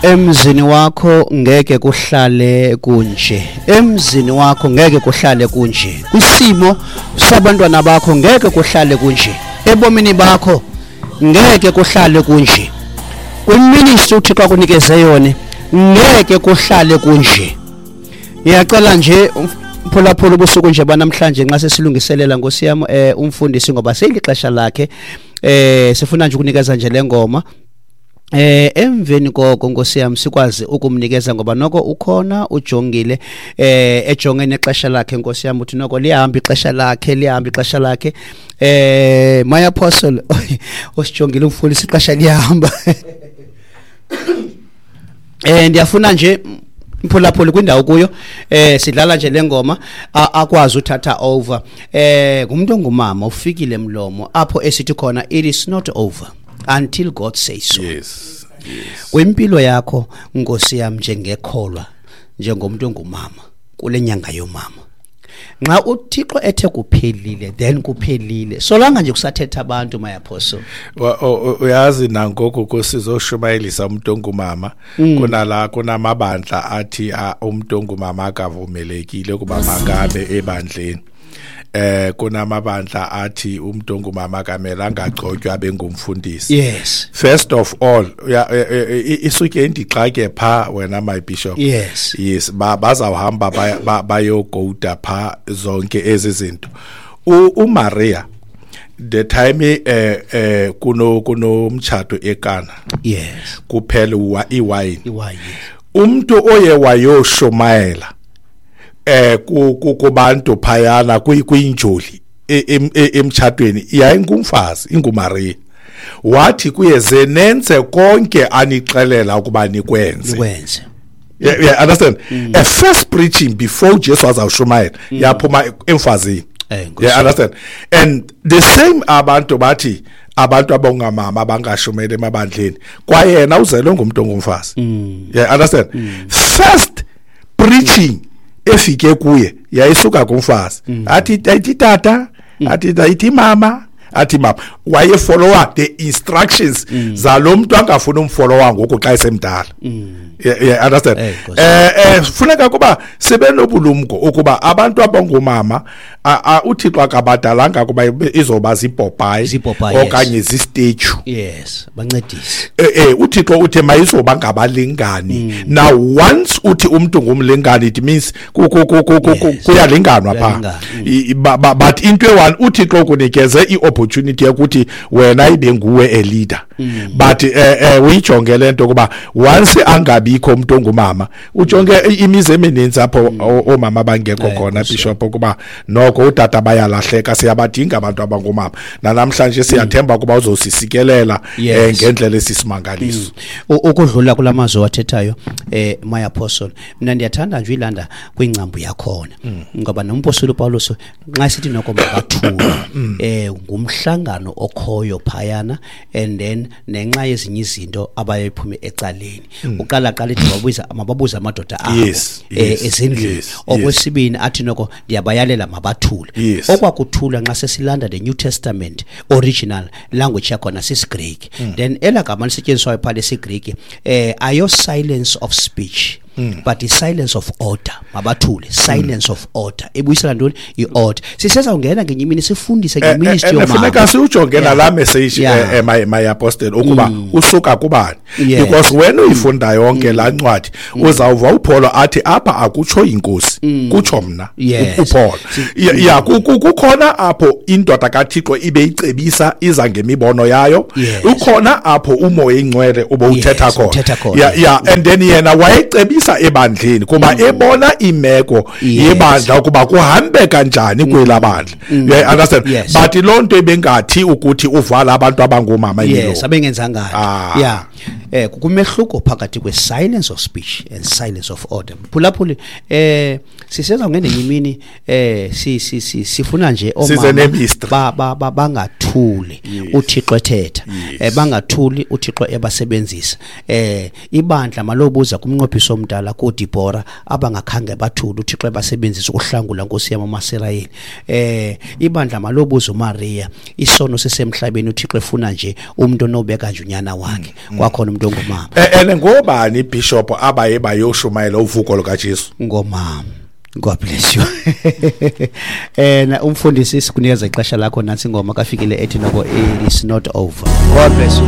Emzini wakho ngeke kuhlale kunje, emzini wakho ngeke kuhlale kunje, kwisimo sabantwana bakho ngeke kuhlale kunje, ebomini bakho ngeke kuhlale kunje, kwiministry uThixo akunikeze yona ngeke kuhlale kunje. Ngiyacela nje mphulaphula ubusuku nje banamhlanje nxa sesilungiselela Nkosi yam umfundisi ngoba seyilixesha lakhe, sifuna nje ukunikeza nje le ngoma. Emveni koko Nkosi yam sikwazi ukumnikeza ngoba noko ukhona ujongile, ejonge nexesha lakhe Nkosi yam, uthi noko liyahamba ixesha lakhe, liyahamba ixesha lakhe. My apostle osijongile umfundisi ixesha liyahamba. Ndiyafuna nje mphulaphula kwindawo kuyo, sidlala nje le ngoma akwazi uthatha over. Ngumuntu ongumama ufikile mlomo apho esithi khona it is not over until God says so. Yes. Yes. Kwimpilo yakho Nkosi yam njengekholwa, njengomuntu ongumama kule nyanga yomama, nxa uThixo ethe kuphelile then kuphelile, solanga nje kusathetha abantu my apostle. Uyazi nangoku kusizoshumayelisa umuntu ongumama, kunala kunamabandla athi umuntu ongumama akavumelekile ukuba makabe ebandleni. Kunamabandla athi umuntu ongumama akamelanga agcotywe abe ngumfundisi. Yes. First of all, isuke indixake pha wena my bishop. Yes. Yes, bazawuhamba bayogoda pha zonke ezi zinto. uMaria the time kunomtshato eKana. Yes. Kuphela iwine. Iwine. Umuntu oye wayoshumayela kubantu phayana kwinjoli emtshatweni yayingumfazi inguMaria. Wathi kuye ze nenze konke anixelela ukuba nikwenze. Nikwenze. Yeah, understand? A first preaching before Jesus azawushumayela yaphuma emfazini. Yeah, understand? And the same abantu bathi abantu abongamama abangashumayela emabandleni kwayena uzelwe ngumuntu ongumfazi. Yeah, understand? First preaching efike kuye yayisuka kumfazi. Athi tata, athi mama, athi mama. Wayefollowa the instructions zalomuntu angafuna umfollowa ngoku xa esemdala. Yeah, understand? Funeka kuba sibe nobulumko ukuba abantu abangomama uThixo akabadalanga kuba izoba zipopayi okanye zistatue. Yes, bancedise. uThixo uthe mayizoba ngabalingani. Now once uthi umuntu ngumlingani it means kuyalinganwa pha. But into one uThixo ukunikeze iopportunity yokuthi wena ibe nguwe a leader. But uyijonge lento kuba once angabikho umuntu ongumama, ujonge imizi emininzi apho omama bangekho khona bishop kuba noko utata bayalahleka, siyabadinga abantu abangomama. Namhlanje siyathemba kuba uzosisikelela ngendlela esisimangaliso. Ukudlula kulamazwi wathethayo my apostle, mina ndiyathanda nje ilanda kwingcambu yakhona ngoba nompostoli uPaulus nxa sithi noko makathule ngumhlangano okhoyo phayana, and then nenxa yezinye izinto abayiphume ecaleni. Uqala qala ithi mababuza amadoda abo ezindlini. Okwesibini athi noko ndiyabayalela mabathule. Okwakuthula nxa sesilanda the New Testament original language yakhona sisiGreek. Then elagama lisetyenziswayo pha lesiGreek ayo silence of speech. But the silence of order, mabathule, silence of order. Ibuyisela ntoni? I-order. Sisezawungena ngenye imini sifundise ngeministry yomama. Funeka siwujonge nala message my apostle ukuba usuka kubani. Because when uyifunda yonke laa ncwadi uzawuva uPaul athi apha akutsho inkosi, kutsho mna uPaul. Yeah, kukhona apho indoda kaThixo ibe icebisa iza ngemibono yayo. Ukhona apho uMoya Ingcwele ube uthetha khona. Yeah, and then yena wayecebisa ebandleni kuba ebona imeko yebandla ukuba kuhambe kanjani kwelabandla. You understand? But lonto ebengathi ukuthi uvala abantu abangomama imilomo. Yes, abengenzanga. Yeah. Kumehluko phakathi kwe silence of speech and silence of order. Phulaphuli siseza ngenye imini sifuna nje omama bangathuli uThixo ethetha, bangathuli uThixo ebasebenzisa. Ibandla malobuza kumnqophiso omdala koDibora abangakhange bathule uThixo ebasebenzisa ukuhlangula Nkosi yam amaSirayeli. Ibandla malobuza uMaria, isono sisemhlabeni uThixo efuna nje umuntu onobeka nje unyana wakhe. Kwakhona umuntu Umntu ongumama. And ngobani ibishop abaye bayoshumayela uvuko lukaJesu? Ngomama. God bless you. And umfundisi, sikunikeza ixesha lakho. Nantsi ingoma kafikile ethi noko it is not over. God bless you.